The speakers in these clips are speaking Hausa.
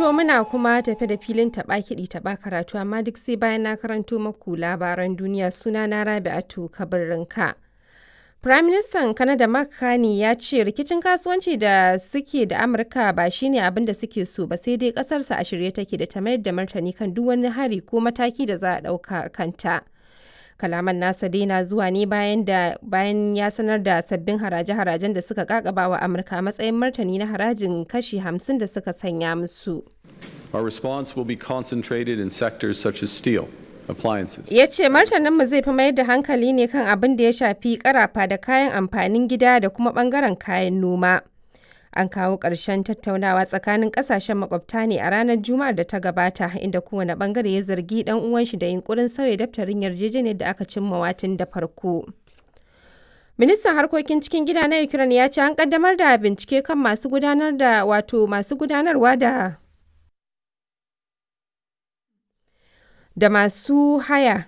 To muna kuma tafe da filin taɓa kiɗi taɓa karatu, amma duk sai bayan na karanto maku labaran duniya. Suna na Rabi'atu Kabirrinka. Firaministan Canada Mark Carney ya ce rikicin kasuwanci da suke da Amurka ba shine abin da suke so ba, sai dai kasarsa a shirye take da ta mayar da martani kan duk wani hari ko mataki da za a ɗauka kanta. Kalaman nasa dai na zuwa ne bayan ya sanar da sabbin haraje-harajen da suka kakaba wa Amurka a matsayin martani na harajin kashi 50 da suka sanya musu. Our response will be concentrated in sectors such as steel, appliances. Ya ce martaninmu zai fi mayar da hankali ne kan abin da ya shafi karafa da kayan amfanin gida da kuma bangaren kayan noma. An kawo ƙarshen tattaunawa tsakanin ƙasashen makwabta ne a ranar Juma'ar da ta gabata, inda kowane bangare ya zargi ɗan uwan shi da yunkurin sauya daftarin yarjejeniyar da aka cimma watin da farko. Ministan harkokin cikin gida na Ukraine ya ce an kaddamar da bincike kan masu gudanar da, wato masu gudanarwa da masu haya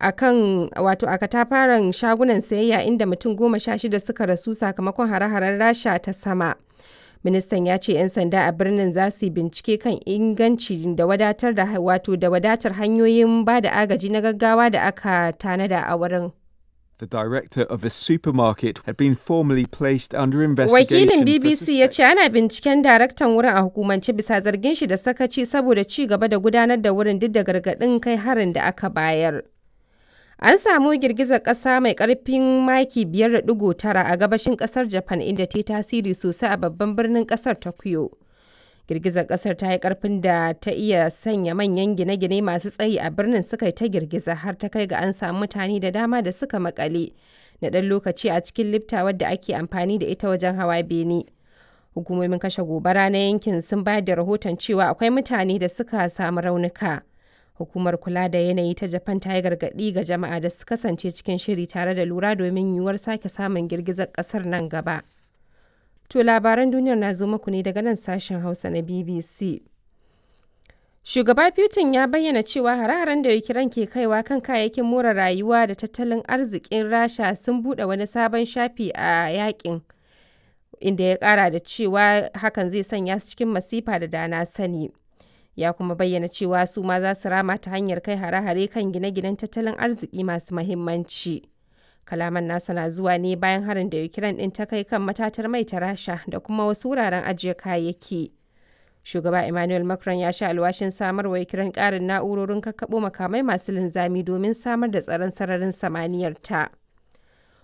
a kan, wato a katafaren shagunan sayayya inda mutum 16 suka rasu sakamakon hare-haren Rasha ta sama. Ministan ya ce 'yan sanda a birnin za su yi bincike kan inganci da wadatar da, wato da wadatar hanyoyin ba da agaji na gaggawa da aka tanada a wurin. The director of a supermarket had been formally placed under investigation. Wakilin for BBC ya ce ana binciken daraktan wurin a hukumance bisa zargin shi da sakaci saboda ci gaba da gudanar da wurin duk da gargaɗin kai harin da aka bayar. An samu girgizar ƙasa mai ƙarfin maki 5.9 a gabashin ƙasar Japan, inda ta yi tasiri sosai a babban birnin ƙasar Tokyo. Girgizar ƙasar ta yi ƙarfin da ta iya sanya manyan gine-gine masu tsayi a birnin suka yi ta girgiza, har ta kai ga an samu mutane da dama da suka makale na ɗan lokaci a cikin lifta wadda ake amfani da ita wajen hawa bene. Hukumomin kashe gobara na yankin sun bayar da rahoton cewa akwai mutane da suka samu raunuka. Hukumar kula da yanayi ta Japan ta yi gargaɗi ga jama'a da su kasance cikin shiri tare da lura domin yiwuwar sake samun girgizar ƙasar nan gaba. To labaran duniyar na zo muku ne daga nan sashen Hausa na BBC. Shugaba Putin ya bayyana cewa hare-haren da Ukraine ke kaiwa kan kayayyakin more rayuwa da tattalin arzikin Rasha sun buɗe wani sabon shafi a yakin, inda ya ƙara da cewa hakan zai sanya su cikin masifa da dana sani. Ya kuma bayyana cewa su ma za su rama ta hanyar kai hare-hare kan gine-ginen tattalin arziki masu mahimmanci. Kalaman nasa na zuwa ne bayan harin da Ukraine ɗin ta kai kan matatar mai ta Rasha da kuma wasu wuraren ajiye kayayyaki. Shugaba Emmanuel Macron ya sha alwashin samarwa Ukraine ƙarin na'urorin kakkaɓo makamai masu linzami domin samar da tsaron sararin samaniyar ta.